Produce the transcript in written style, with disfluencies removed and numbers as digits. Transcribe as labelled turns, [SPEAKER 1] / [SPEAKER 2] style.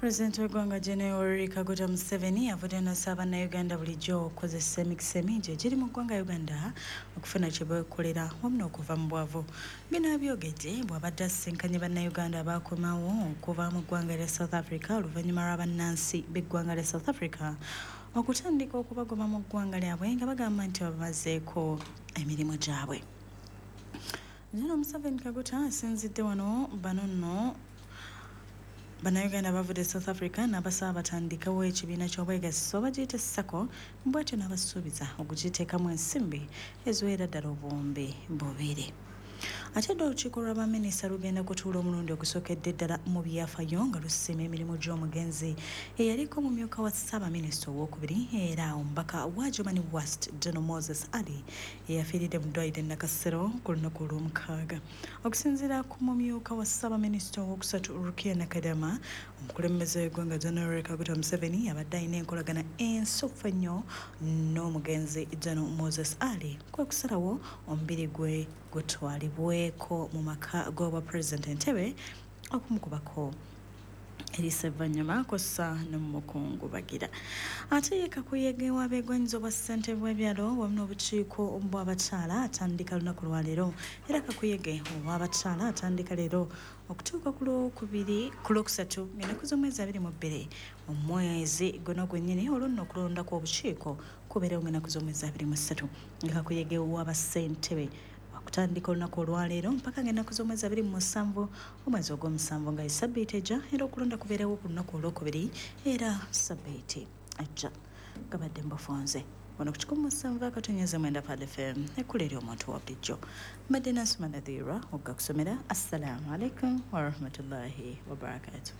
[SPEAKER 1] Pulezidenti w'eggwanga General Yoweri Kaguta Museveni avudde n'asaba Bannayuganda bulijjo okukozesa emikisa emingi egiri mu ggwanga Uganda okufuna kye beekolera wamu n'okuva mu bwavu. Bino abyogedde bw'abadde asisinkanye Bannayuganda abaakomawo okuva mu ggwanga lya South Africa oluvannyuma lwa bannansi b'eggwanga lya South Africa okutandika okubagoba mu ggwanga lyabwe nga bagamba nti babamazeeko emirimu gyabwe. General Museveni Kaguta asinzidde wano bano nno Bannayuganda bavudde South Africa n'abasaba batandikewo ekibiina ky'obwegassi oba giyite SACCO, bw'atyo n'abasuubiza okugiteekamu ensimbi eziwerera ddala 2000. Ate dda olukiiko lwa baminisita lugenda kutuula omulundi ogusookedde ddala mu byafaayo nga lusiima emirimu gy'omugenzi eyaliko omumyuka wa ssaabaminisita owookubiri era omubaka wa Germany West General Moses Ali eyafiiridde mu ddwaliro e Nakasero ku lunaku olw'omukaaga. Okusinziira ku mumyuka wa ssaabaminisita owokusatu Rukia Nakadama, omukulembeze w'eggwanga General Kaguta Museveni abadde alina enkolagana ensuffu ennyo n'omugenzi General Moses Ali, kwe kusalawo omubiri gwe gutwalibweko mu maka g'obwa pulezidenti Entebbe okumukubako eriisa evvannyuma kw'ossa n'omukungubagira. Ate ye kakuyege w'abeegwanyiza obwa ssentebe bw'ebyalo wamu n'obukiiko bw'abakyala atandika lunaku lwaleero, era kakuyege ow'abakyala atandika leero okutuuka ku lwokubiri ku lwokusatu ng'ennaku z'omwezi 22 omwezi guno gwennyini. Olwo nno okulondako obukiiko kubeerewo ng'ennaku z'omwezi 23, nga kakuyege w'abassentebe wakutandika olunaku olwaleero mpaka ng'ennaku z'omwezi 27 omwezi ogw'omusanvu nga esabbiiti ejja, era okulonda kubeerewo ku lunaku olwokubiri era sabbiiti ejja. Gabadde mbufunze wano ku 107.9 Pad FM, ekkula eri omuntu wa bulijjo. Mbadde Nansuma Nadhira oggakusomera. Assalamu alaikum warahmatullahi wabarakatuh.